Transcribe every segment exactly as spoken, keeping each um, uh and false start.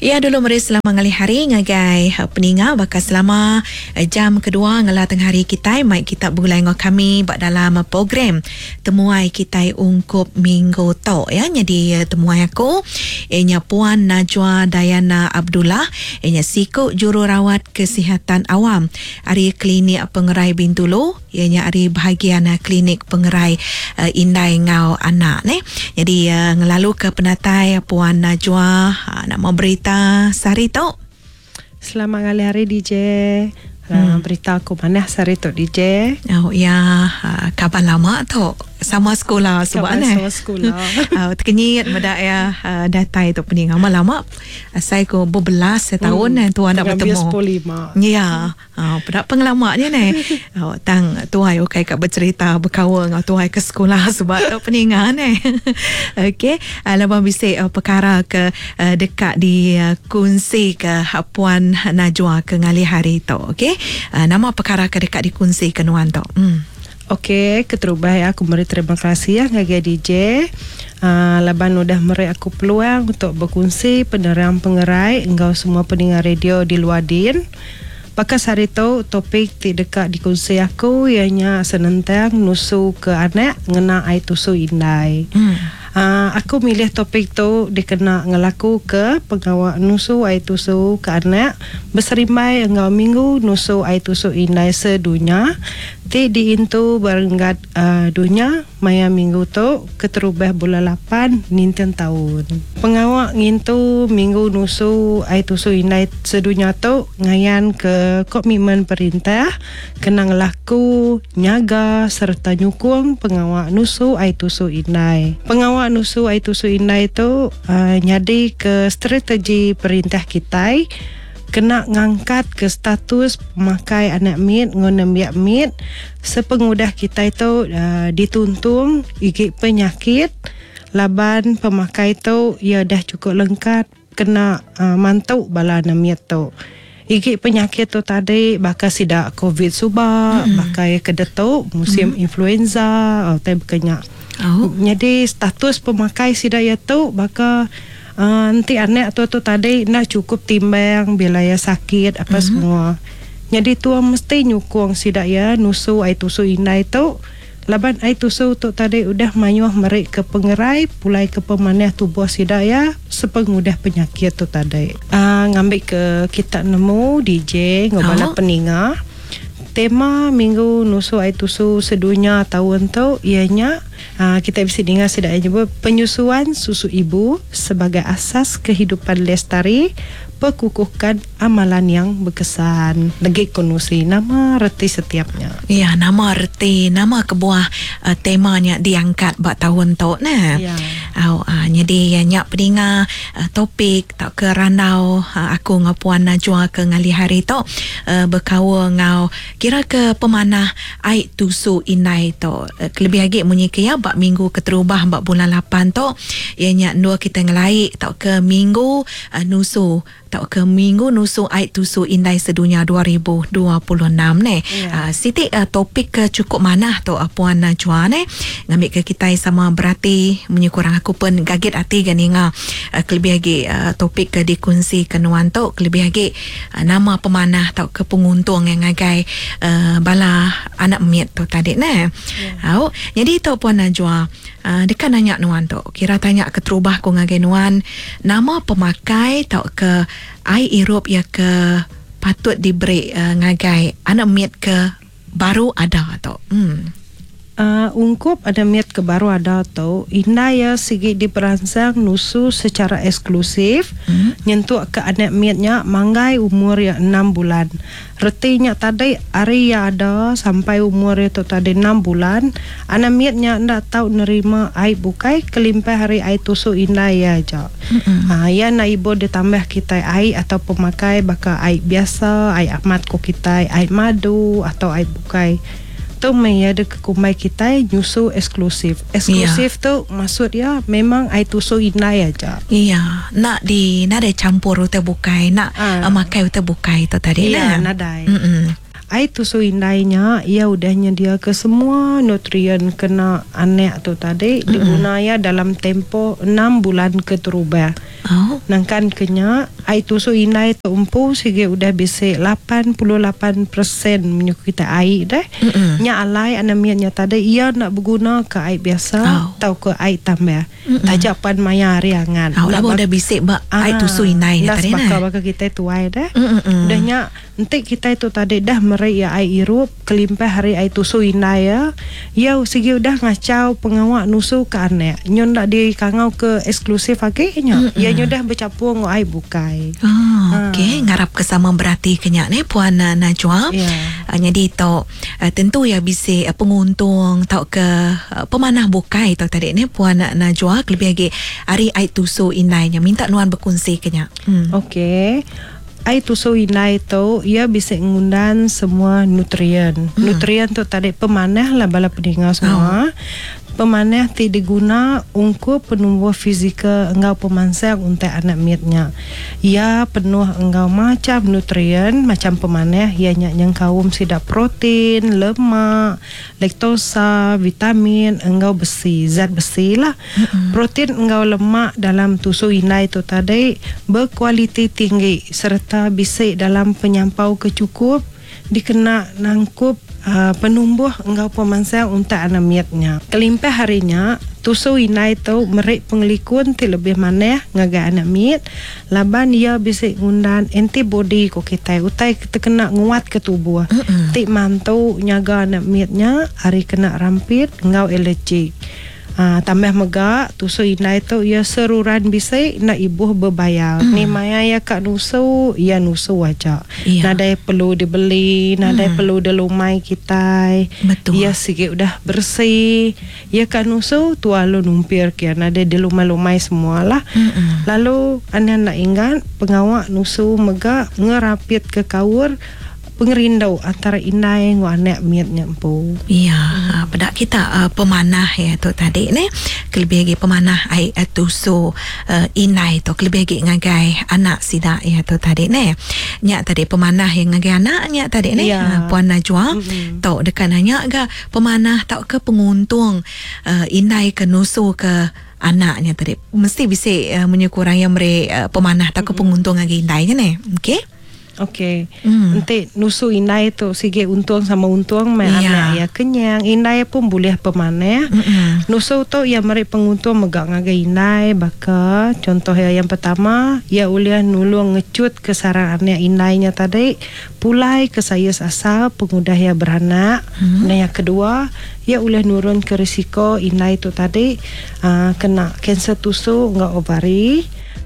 Ya dulu meri selamat ngalih hari ngagai peninga bakal selama jam kedua ngela tengah hari kita mai kita begulai ngau kami bak dalam program temuai kita ungkup minggu tu ya. Jadi temuai aku ianya Puan Najwa Dayana Abdullah, ianya siku jururawat kesihatan awam ari Klinik Pengerai Bintulu, ianya ari bahagian Klinik Pengerai uh, Indai ngau anak ne. Jadi uh, ngelalu ke penatai Puan Najwa uh, nak mau berita sehari tu. Selamat ngalih hari D J. Hmm. Berita aku mana sehari tu D J? Oh ya, kawan lama tu. Sama sekolah sebab ne. Sama sekolah. Uh, terkenyit medak ya uh, datai tu pening lama-lama. Saya ko berbelas tahun hmm. tu anak bertemu. sepuluh lima. Ya. Uh, pada pengalamannya ne. Uh, tang tuai okey kat bercerita berkawan ngau tuai ke sekolah sebab tu peningan ne. Okey, uh, lepas bisik uh, perkara ke uh, dekat di uh, kunci ke uh, Puan Najwa ke ngalih hari tu. Okey. Uh, nama perkara ke dekat dikunci ke nuan tu. Hmm. Okey, keterubah ya aku meri terima kasih ya ngagai D J. Uh, laban udah meri aku peluang untuk berkongsi penerang pengerai engkau semua pendengar radio di luar din. Pakas hari tu topik ti dekat dikongsi aku ianya senentang nusu ke anak ngena ai tusu indai. Hmm. Uh, aku milih topik tu dikena ngelaku ke pengawak nusu ai tusu ke anak berserimbai engkau minggu nusu ai tusu indai sedunia ti diintu berenggat uh, dunia maya minggu tu keterubah bulan lapan ninten tahun. Pengawak ngintu minggu nusu ai tusu indai sedunia tu ngayan ke komitmen perintah kena ngelaku nyaga serta nyukung pengawak nusu ai tusu indai. Pengawak nusu ai tusu indai tu uh, nyadi ke strategi perintah kitai kena ngangkat ke status pemakai anak mit ngon nembiak mit sepengudah kitai tu uh, dituntung igi penyakit laban pemakai tu ia dah cukup lengkap kena uh, mantuk bala anak mit tu. Igi penyakit tu tadi bakal sidak COVID suba, mm-hmm. bakal kedetuk musim mm-hmm. influenza atau berkenyak. Oh. Jadi status pemakai sidak ya tu bakal uh, nanti anak tu tu tadi nak cukup timbang bila ya sakit apa mm-hmm. semua. Jadi tua mesti nyukung sidak ya nusu ai tusu indai tu. Laban ai tusu tu tadi udah mayuh merik ke pengerai pulai ke pemanah tubuh sidak ya sepengudah penyakit tu tadi. Uh, ngambil ke kita nemu D J ngobala oh. peninga. Tema minggu nusu ai tusu sedunia tahun tu ianya uh, kita bisa dengar sidak nyebut penyusuan susu ibu sebagai asas kehidupan lestari, perkukuhkan amalan yang berkesan. Lagi konusi nama reti setiapnya. Ya, nama reti, nama kebuah uh, temanya diangkat bak tahun tu nah. Ya. Au uh, jadi nyak peninga uh, topik tak ke randau uh, aku ngau Puan Najwa ke ngalih hari tu uh, berkawa ngau kira ke pemanah ai tusu indai tu. Uh, kelebih lagi munyi ke ya bak minggu keterubah bak bulan lapan tu ianya dua kita ngelaik tak ke minggu uh, nusu tak ke minggu nusu ai tusu indai sedunia dua ribu dua puluh enam ne. Yeah. Uh, Siti uh, topik ke cukup manah tu uh, Puan Najwa ne ngambil ke kita sama berarti menyekurang aku pun gagit hati gan inga uh, kelebih lagi uh, topik ke dikunci ke nuan tu kelebih lagi uh, nama pemanah atau ke penguntung yang ngagai uh, bala anak mit tu tadi ne. Yeah. Au, jadi tu Puan Najwa uh, dekat nanya nuan tu kira tanya keterubah ku ngagai nuan nama pemakai atau ke ai irup ya ke patut diberi uh, ngagai anak mit ke baru ada tu. Hmm. Uh, ungkup ada miat ke baru ada tu indah ya sigi diperangsang nusu secara eksklusif hmm. nyentuk ke anak miatnya manggai umur ya enam bulan. Retinya tadi hari ya ada sampai umur ya tu tadi enam bulan anak miatnya ndak tahu nerima ai bukai kelimpah hari ai tusu indah ya aja. Hmm. Uh, ya nak ibu ditambah kita ai atau pemakai baka ai biasa, ai amat ko kita, ai madu atau ai bukai. Tu maya ada kekumai kita nyusu eksklusif. Eksklusif ya. Tu maksud ya memang ai tusu indai aja. Iya, nak di nak ada campur utai bukai, nak ah. uh, makai utai bukai tu tadi iya, lah. Nadai. Mm-mm. Ai tusu indainya ia udah nyedia ke semua nutrien kena anak tu tadi Mm-mm. diguna ya dalam tempo enam bulan keterubah. Oh. Nangkan kenya Ai tusu indai tu empu sigi udah bisi lapan puluh lapan persen menyuku kita ai deh. Mm-mm. Nya alai anemia nya tadi ia nak berguna ke ai biasa oh. Atau ke ai tambah. Tajak pan maya hari angan. Oh, lalu udah bisi ba ai tusu indai nya tadi nah. Baka baka kita tuai deh. Udah nya enti kita tu tadi dah meri ya ai irup kelimpah hari ai tusu indai ya. Ya sigi udah ngacau pengawak nusu ke anak. Nyo ndak di kangau ke eksklusif agi nya. Ya nyo dah bercampur ngau ai bukai. Oh, okey, ngarap ke sama berarti kenyak ni Puan Najwa. Yeah. Uh, jadi tu uh, tentu ya bisi uh, penguntung tau ke uh, pemanah bukai tau tadi ni Puan Najwa kelebih lagi hari ai tusu indainya minta nuan berkongsi kenyak. Hmm. Okey. Ai tusu indai tu ia bisa ngundan semua nutrien. Hmm. Nutrien tu tadi pemanah lah bala pendengar semua. Oh. Pemanah ti diguna ungkup penumbuh fizikal enggau pemansang untuk anak mitnya. Ia penuh enggau macam nutrien, macam pemanah ia nya nyengkaum sidak protein, lemak, laktosa, vitamin enggau besi, zat besi lah. Mm-hmm. Protein enggau lemak dalam tusu indai tu tadi berkualiti tinggi serta bisi dalam penyampau kecukup dikena nangkup Uh, penumbuh enggau pemansang untuk anak mitnya. Kelimpah harinya, tusu indai tu merik pengelikun ti lebih manah ngagai anak mit laban ia bisi ngundan antibody ko kita utai terkena nguat ke tubuh. Mm-mm. Ti mantu nyaga anak mitnya hari kena rampit enggau alergik. Ha, tambah mega tusu indai tu ia seruran bisi nak ibuh berbayar. Mm. Ni maya ia kak nusu, ia nusu aja. Yeah. Nadai perlu dibeli, nadai mm. perlu dilumai kita. Betul. Ia sikit udah bersih. Ia kak nusu tua lu numpir kia nadai dilumai-lumai semualah. Mm-mm. Lalu anda nak ingat pengawak nusu mega ngerapit ke kaur pengerindau antara indai dengan anak miatnya empu. Ya, hmm. Pada kita uh, pemanah ya tu tadi ni, kelebih lagi pemanah ai uh, tusu uh, indai tu kelebih lagi ngagai anak sidak ya tu tadi ni. Nyak tadi pemanah yang ngagai anak nyak tadi ni ya. uh, Puan Najwa hmm. Tok dekan nanya ga pemanah tau ke penguntung uh, indai ke nusu ke anaknya tadi mesti bisa uh, menyukurang yang mere uh, pemanah tau ke hmm. penguntung ngagai indainya ni. Okey. Okey. Hmm. Nanti nusu indai tu sige untung sama untung mai yeah. Anak ya kenyang. Indai pun boleh pemanah. Mm-hmm. Nusu tu ia meri penguntung megak ngagai indai baka contoh ya yang pertama ia uliah nulung ngecut ke sarang anak indainya tadi pulai ke saiz asal pengudah ia beranak. Mm-hmm. Dan yang kedua ia uliah nurun ke risiko indai tu tadi uh, kena kanser tusu enggau ovari.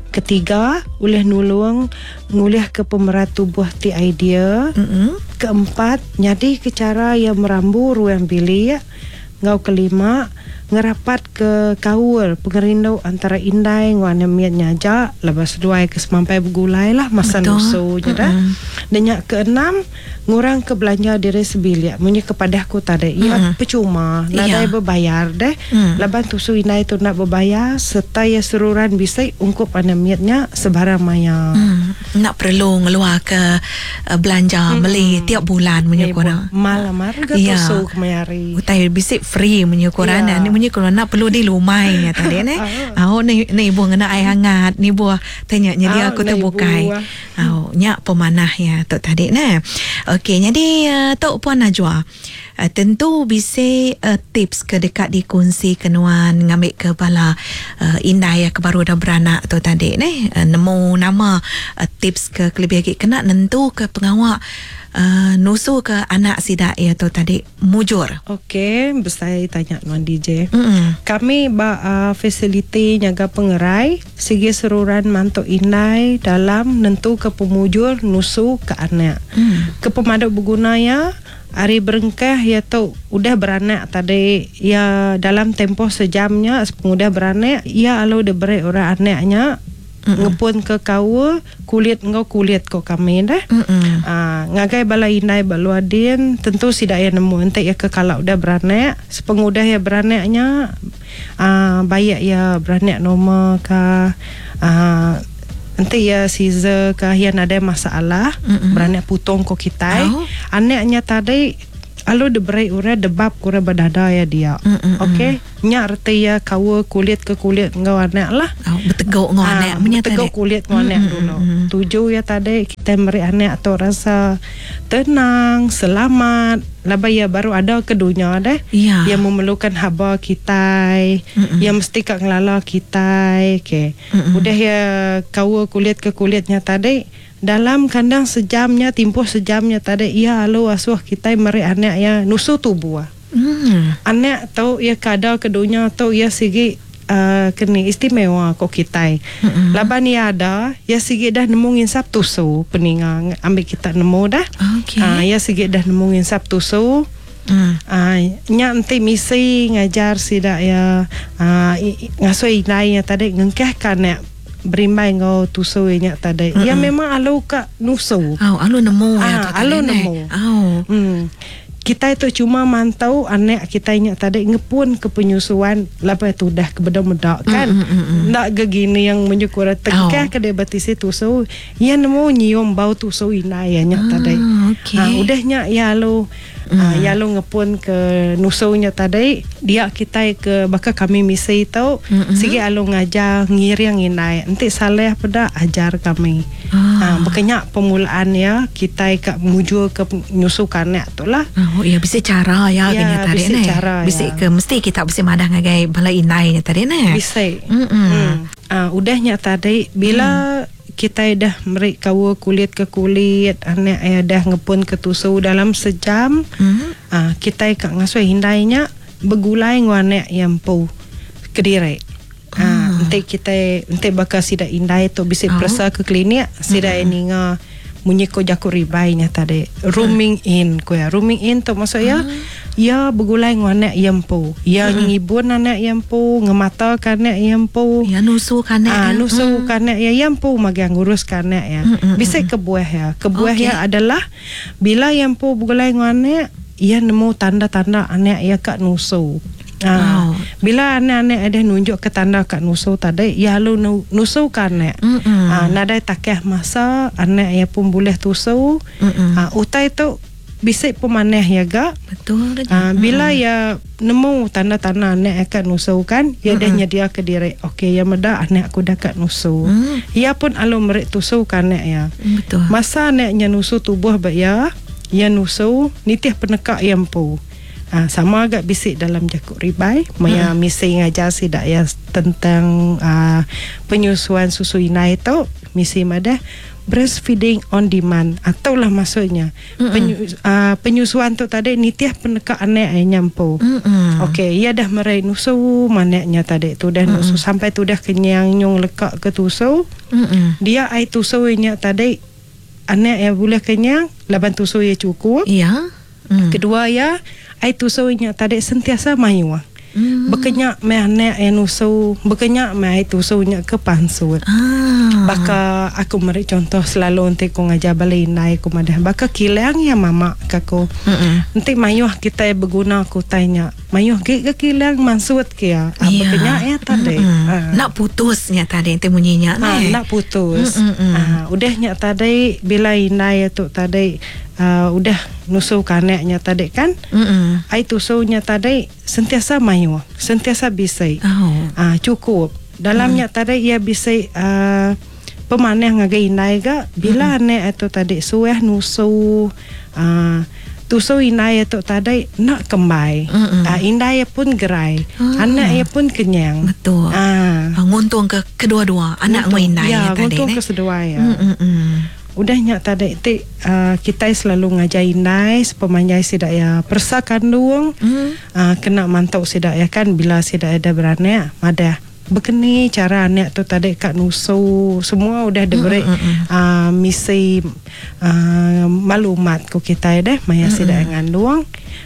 Ketiga, ulih nulung ngulih ke pemerat tubuh ti idea. Mm-hmm. Keempat, nyadi ke cara yang merambu ruang bilik. Ngau kelima, ngerapat ke kaul pengerindu antara indai ngau anak miatnya aja lepas duai ke semampai bergulai lah masa nusu je dah. Dan yang keenam, ngurang ke belanja diri sebilik. Munyi kepada aku tadi, ia mm-hmm. percuma, nadai yeah. berbayar deh. Mm. Laban tusu indai tu nak berbayar serta ia seruran bisa ungkup anak miatnya sebarang maya. Mm. Nak perlu ngeluar ke uh, belanja mm-hmm. beli tiap bulan munyi korang. Malam harga yeah. tusu kemayari. Utai bisik free munyi korang. Yeah. Ni munyi korang nak perlu di lumai nya tadi ne. Au ni ni ibu ngena air hangat, ni buah tanya nya dia aku terbukai. Au nya pemanah ya tok tadi ne. Okey, jadi uh, Tok Puan Najwa uh, tentu bisa uh, tips ke dekat dikongsi kenuan ngambil ke bala uh, indai yang baru dah beranak tu tadi ne uh, nemu nama uh, tips ke kelebih lagi kena nentu ke pengawak uh, nusu ke anak sidak ya tu tadi mujur. Okey, besai tanya nuan D J. Mm-mm. Kami ba uh, fasiliti nyaga pengerai sigi seruran mantuk indai dalam nentu ke pemujur nusu ke anak. Mm. Ke pemaduk berguna ya hari berengkah ya tu udah beranak tadi ya dalam tempoh sejamnya sepengudah beranak ya alu diberi orang anaknya mm-mm. Ngepun ke kawa kulit engkau kulit ko kami dah. Ah ngagai bala indai baluadin tentu sidak ya nemu entek ya ke kalau udah beranak sepengudah ya beranaknya ah bayak ya beranak normal ka ah nanti ya Caesar ke yang ada masalah mm-mm. Beranak putung ko kita. Oh. Anaknya tadi Alu diberi orang debab kurang berdada ya dia. Mm-mm. Okey, nya reti ya kawa kulit ke kulit ngau anak lah. Oh, beteguk ngau Ah, anak punya beteguk tadi. kulit ngau anak dulu. Tuju ya tadi kita meri anak tu rasa tenang, selamat. Labai ya baru ada ke dunia deh. Ya. Yang memerlukan haba kita, yang mesti kak ngelala kita. Okey. Udah ya kawa kulit ke kulitnya tadi dalam kandang sejamnya, tempoh sejamnya tadi ia alu asuh kita meri anak ya nusu tubuh. Hmm. Anak tu ia kada ke dunia tu ia sigi uh, kini istimewa ko kita. Mm-mm. Laban ia ada, ia sigi dah nemu nginsap tusu peningang ambil kita nemu dah. Okey. Ah, ia sigi dah nemu nginsap tusu. Hmm. Ah, nya enti misi ngajar sida ya ah, ngasuh indai ya tadi ngengkah kanak berimbai ngau tusu nya tadi. Ya memang alu ka nusu. Oh, alu nemu ya Ah, tu tadi, alu ne? nemu. Oh. Hmm. Kita itu cuma mantau anak kita nya tadi ngepun ke penyusuan lepas tu dah ke bedak-bedak kan. Mm, mm, mm, mm. Nak gegini yang menyukur tengkah Oh. ke dia batisi tusu, ya nemu nyium bau tusu inai ya nya Ah, tadi. okey. Ah, udah nya ya lu mm. ah, ya lu ngepun ke nusunya tadi, dia kita ke bakal kami misi tu, Mm-mm. sigi alu ngajar ngiring inai. Enti saleh peda ajar kami. Ah. Ah, berkenyak permulaan ya kita ke mujur ke nyusu kanak tu lah. Oh, ya bisa cara ya, Ya, kena tadi bisa ne. cara, Bisa ya. ke mesti kita bisa madah ngagai bala inai nya tadi ne. Bisa. Mm-mm. Hmm. Ah, udahnya tadi bila kita dah merik kawa kulit ke kulit, anak ya dah ngepun ke tusu dalam sejam, Hmm. ah, kita kak ngasuh hindainya bergulai ngau anak yang pu kediri. Ah, enti kita enti bakal sida indai tu bisa Oh. periksa ke klinik, sida mm-hmm. ninga munyi ko jaku ribainya tadi rooming in ko ya rooming in tu maksud ya ya bergulai ngau anak yang pu ya ngibun anak yang pu ngemata ke anak yang pu Ya nusu kanak. Ah, ya. nusu mm. kanak ya yang pu magang ngurus kanak ya. Mm, mm, Bisa kebuah ya. Kebuah Okey. ya adalah bila yang pu bergulai dengan anak, ia nemu tanda-tanda anak ya kat nusu. Ah, Oh. bila anak-anak ada nunjuk ke tanda kat nusu tadi, ya lu nu, nusu kanak. Mm-mm. Ah, nadai takeh masa anak ya pun boleh tusu. Mm-mm. Ah, utai tu bisik pemanah ya gak. Betul. Ah, bila ya nemu tanda-tanda anak akan nusu kan, ya dah nyedia ke diri. Okey, ya meda anak aku dah kat nusu. Mm. Ya pun alu merik tusu kan anak ya. Betul. Masa anaknya nusu tubuh bak ya, ya nusu nitih penekak yang pu. Ah, sama agak bisik dalam jakuk ribai, maya hmm. misi ngajar sidak ya tentang ah, penyusuan susu inai tu, misi madah breastfeeding on demand atau lah maksudnya penyu, ah, penyusuan tu tadi nitih penekak anak yang nyampu. Mm-mm. Okey, ia dah merai nusu manaknya tadi tu dah nusu sampai tu dah kenyang nyung lekak ke tusu. Mm-mm. Dia ai tusu nya tadi anak yang boleh kenyang laban tusu ia cukup. Ya. Mm. Kedua ya ai tusu nya tadi sentiasa mayu. Mm. Bekenyak me anak yang nusu, bekenyak me ai tusu nya ke pansut. Ah. Baka aku meri contoh selalu nanti ku ngajar balik indai ku madah. Baka kilang ya mama kaku. Mm-mm. Nanti mayuh kita berguna ku tanya. Mayuh ge ke kilang mansut ke ya. Ah, Ya. Bekenyak ya tadi. Mm-mm. Ah. Nak putusnya tadi itu bunyinya Ha, ne. nak putus. Mm, mm, mm. Ha, udahnya tadi bila indai tu tadi uh, udah nusu kanaknya tadi kan. Mm-mm. Ai tusunya tadi sentiasa mayu, sentiasa bisai. Oh. Ah, cukup. Dalamnya mm. tadi ia bisai uh, pemanah ngagai indai ga bila mm. anak itu tadi suah nusu uh, tusu indai itu tadi nak kembai. Mm-mm. Ah, indai pun gerai. Ah. Anak ia pun kenyang. Betul. Ah. Ah, nguntung ke kedua-dua anak dengan indai ya, tadi nguntung ne. ke seduai ya. Mm-mm. Udahnya tadi ti uh, kita selalu ngajar indai sepemanjai sidak ya persa kandung Mm. uh, kena mantau sidak ya kan bila sidak ada beranak madah berkeni cara anak tu tadi kat nusu semua udah diberi Mm, mm, mm. uh, misi uh, maklumat ku kita deh maya sidak yang ngandung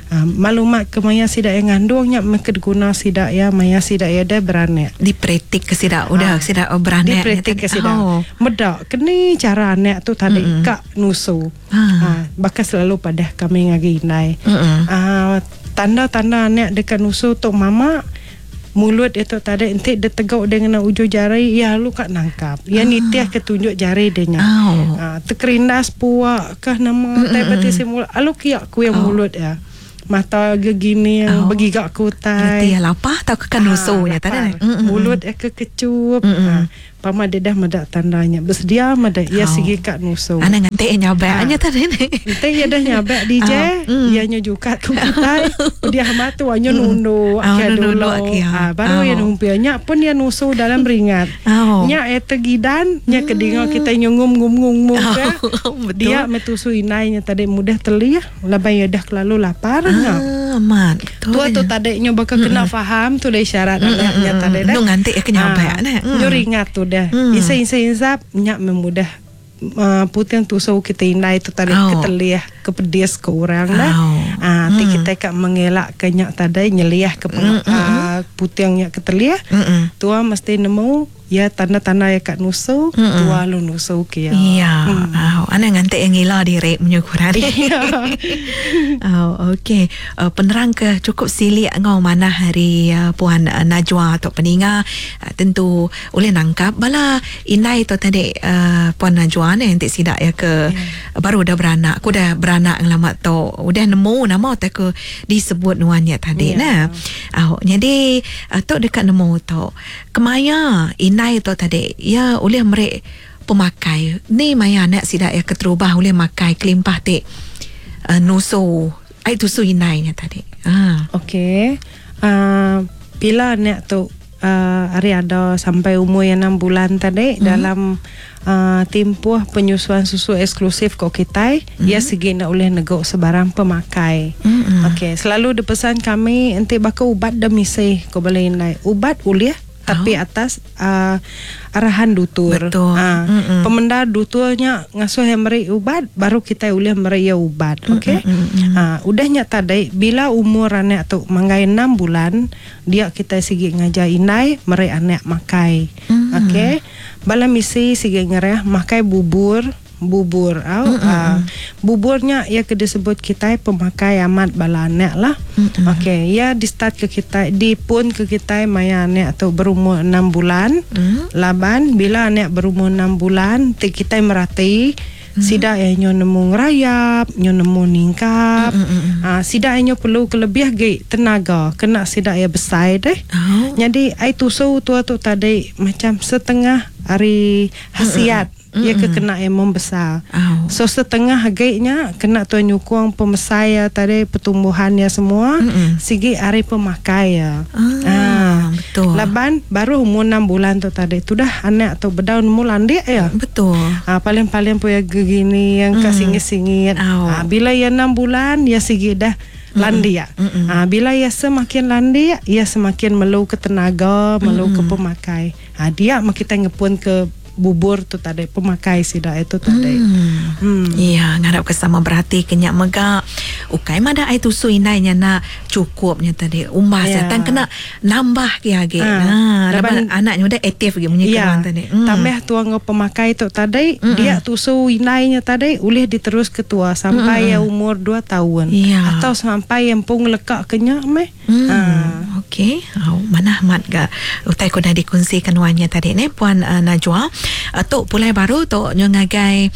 uh, maklumat ke maya sidak yang ngandungnya meka guna sidak ya maya sidak ya dah beranak Dipretik ke sidak udah Ah. sidak beranak Dipretik ke sidak. Oh. Medak keni cara anak tu tadi Mm-mm. kak nusu. Ah. Ha, bahkan selalu pada kami ngagi indai. Mm-mm. Ah, tanda-tanda anak dekat nusu tu mama mulut itu tadi enti dia teguk dengan ujung jari ya lu kat nangkap. Ya Ah. nitih ke tunjuk jari dia nya. Oh. Ha, terkerindas puak kah nama tai pati si mulut. Alu kiak ku yang Oh. mulut ya. Mata gegini oh. Begigak kutai. Reti lapar tau ke kan nusu nya tadi. Mulut ke kecup. Mm-mm. Pama dia dah medak tandanya. Bersedia medak ia oh. Sigi kat nusu. Ana nganti nyabak nya tadi ni. Ente ia dah nyabak D J, oh. Ia nya jukat ku kitai. Dia matu nya nunduk oh, ke dulu. Ah baru oh. Ia numpia nya pun ia nusu dalam ringat. Oh. Nya ia tegidan, nya kedinga kitai nyungum ngum ngum ngum ke. Dia metusu inai nya tadi mudah telih, laban ia dah kelalu lapar nya. Ah, amat. Tua tu tadi nya bakal kena faham tu dah isyarat nya tadi dah. Nu nganti ke nyabak nah. Nyu ringat tu dah. Mm. Isa-isa insap nyak memudah uh, puting tusuk kita indai tu tadi oh. Ketelih kepedis ke orang dah. Oh. Ah, mm. Kita kak mengelak ke nyak tadi nyeliah ke peng, mm, mm, uh, puting nyak ketelih. Mm. Tua mesti nemu ya tanda-tanda ya kat nusu, mm-mm. Tua lu nusu ke ya. Iya. Mm. Oh, ana nganti yang ngila diri menyukuran. Iya. Oh, okey. Uh, penerang ke cukup silik ngau mana hari uh, Puan uh, Najwa atau peninga uh, tentu boleh nangkap bala indai tu tadi uh, Puan Najwa ni nanti sidak ya ke yeah. Baru dah beranak. Aku dah beranak lama tu. Udah nemu nama tak ke disebut nuannya tadi yeah. Nah. Oh, jadi uh, tu dekat nemu tu. Kemaya indai tu tadi ya oleh merek pemakai ni maya anak sidak ya keterubah oleh makai kelimpah tik uh, nusu ai tusu indai nya tadi. Ah. Okey. Uh, bila anak tu uh, hari ada sampai umur yang enam bulan tadi mm-hmm. dalam uh, tempoh penyusuan susu eksklusif kok kitai mm-hmm. ia segi nak boleh negok sebarang pemakai. Mm-hmm. Okey, selalu dipesan kami enti baka ubat demisih ko boleh indai. Ubat boleh tapi oh. atas uh, arahan dutur. Betul. Uh, pemendar duturnya ngasuh yang meri ubat baru kita boleh meri ia ubat. Okey. Uh, udahnya tadi bila umur anak tu manggai enam bulan dia kita sigi ngajar indai meri anak makai. Mm. Okey. Bala misi sigi ngereh makai bubur bubur au uh, buburnya ia ke disebut kita pemakai amat bala anak lah. Okey, ia di start ke kita di pun ke kita maya anak tu berumur enam bulan. Mm. Laban bila anak berumur enam bulan ti kita merati mm. Sida yang nyo nemu ngerayap, nyo nemu ningkap. Mm-hmm. Uh, sida yang nyo perlu kelebih ge tenaga, kena sida yang besar deh. Oh. Jadi ai tusu tua tu tadi macam setengah hari khasiat. Mm-hmm. Ia ke kena yang membesar. Oh. So setengah harganya kena tu nyukung pemesai ya tadi pertumbuhannya semua. Mm-mm. Sigi hari pemakai ya. Ah, ah, betul. Laban baru umur enam bulan tu tadi. Tu dah anak tu bedaun nemu landik ya. Betul. Ah, paling-paling punya gegini yang mm. kasingit-singit. Oh. Ah, bila ia enam bulan ya sigi dah landia. Ah, bila ia semakin landia, ia semakin melu ke tenaga, melu ke pemakai. Ah, dia mak kita ngepun ke bubur tu tadi pemakai sida itu tadi. Hmm. Hmm. Ya, ngarap kesama berhati kenyak megak. Ukai mada ai tusu indainya nak cukupnya tadi. Umbas ya. Tan kena nambah ke lagi. Ha. Nah, laban anaknya udah aktif lagi munyi ya. Keluar tadi. Hmm. Tambah tuang pemakai tu tadi, hmm. dia tusu indainya tadi ulih diterus ketua sampai hmm. ya umur dua tahun. Ya. Atau sampai yang pung lekak kenyak meh. Hmm. Ha. Okey. Oh, mana mat ga utai ku dah dikongsikan wanya tadi ni Puan uh, Najwa. Uh, tok pulai baru tok nyo ngagai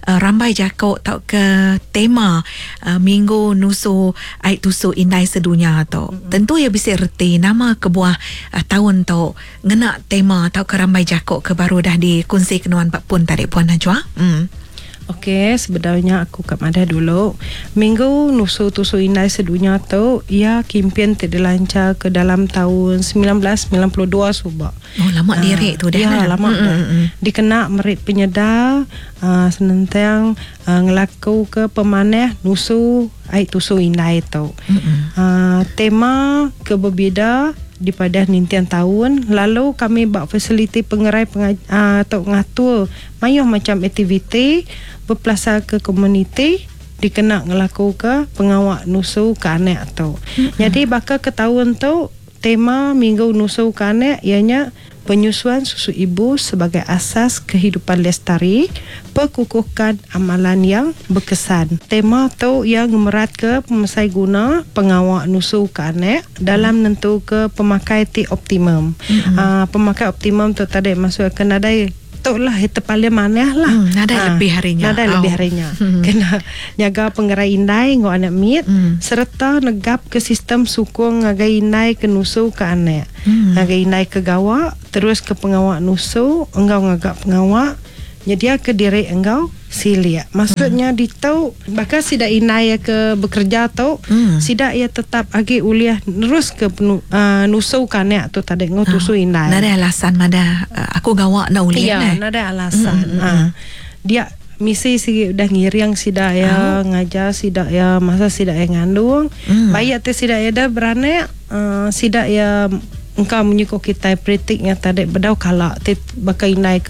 uh, rambai jakok tau ke tema uh, minggu nusu ai tusu indai sedunia tok. Mm-hmm. Tentu ya bisa reti nama kebuah uh, tahun tok ngena tema tau ke rambai jakok ke baru dah dikongsi kenuan pak pun tadi Puan Najwa. Hmm. Okey, sebenarnya aku kat madah dulu. Minggu Nusu Tusu Indai Sedunia tu ia kempen dilancar ke dalam tahun sembilan belas sembilan puluh dua subak. Oh, lama uh, direk tu dah. Ya, lama mm, dah. Mm, mm. Dikena merit penyedar uh, senentang uh, ngelaku ke pemanah Nusu Ai Tusu Indai tu. Uh, tema keberbeza di pada nintian tahun. Lalu kami buat fasiliti pengerai pengaj- uh, atau ngatur mayuh macam aktiviti berpelasar ke komuniti dikena ngelaku ke pengawak nusu ke anak tu. Mm-hmm. Jadi bakal ke tahun tu tema minggu nusu ke anak ianya penyusuan susu ibu sebagai asas kehidupan lestari, perkukuhkan amalan yang berkesan. Tema tu yang merat ke pemesai guna pengawak nusu ke anak dalam nentu ke pemakai ti optimum. Mm-hmm. Uh, pemakai optimum tu tadi maksud kena ada Tu lah itu paling manah lah. Hmm, nadai lebih harinya. Nadai Au. lebih harinya. Hmm. Kena nyaga pengerai indai ngau anak mit Hmm. serta negap ke sistem sukung ngagai indai ke nusu ke anak. Hmm. Ngagai indai ke gawa terus ke pengawak nusu enggau ngagak pengawak nyedia ke diri enggau silik. Maksudnya hmm. ditu bahkan sida indai ke bekerja tu Hmm. sida ia tetap agi uliah terus ke penu, uh, nusu ke anak tu tadi ngau tusu indai. Nadai alasan mana uh, aku gawak nak ulih Ya, nah. nada alasan. Mm, mm, Ah. Dia misi sigi udah ngiring sida ya, ngajar sida ya masa sida ya ngandung. Mm. Bayak te sida ya dah beranak, uh, sida ya engkau menyuko kita praktiknya tadi bedau kala te baka indai ke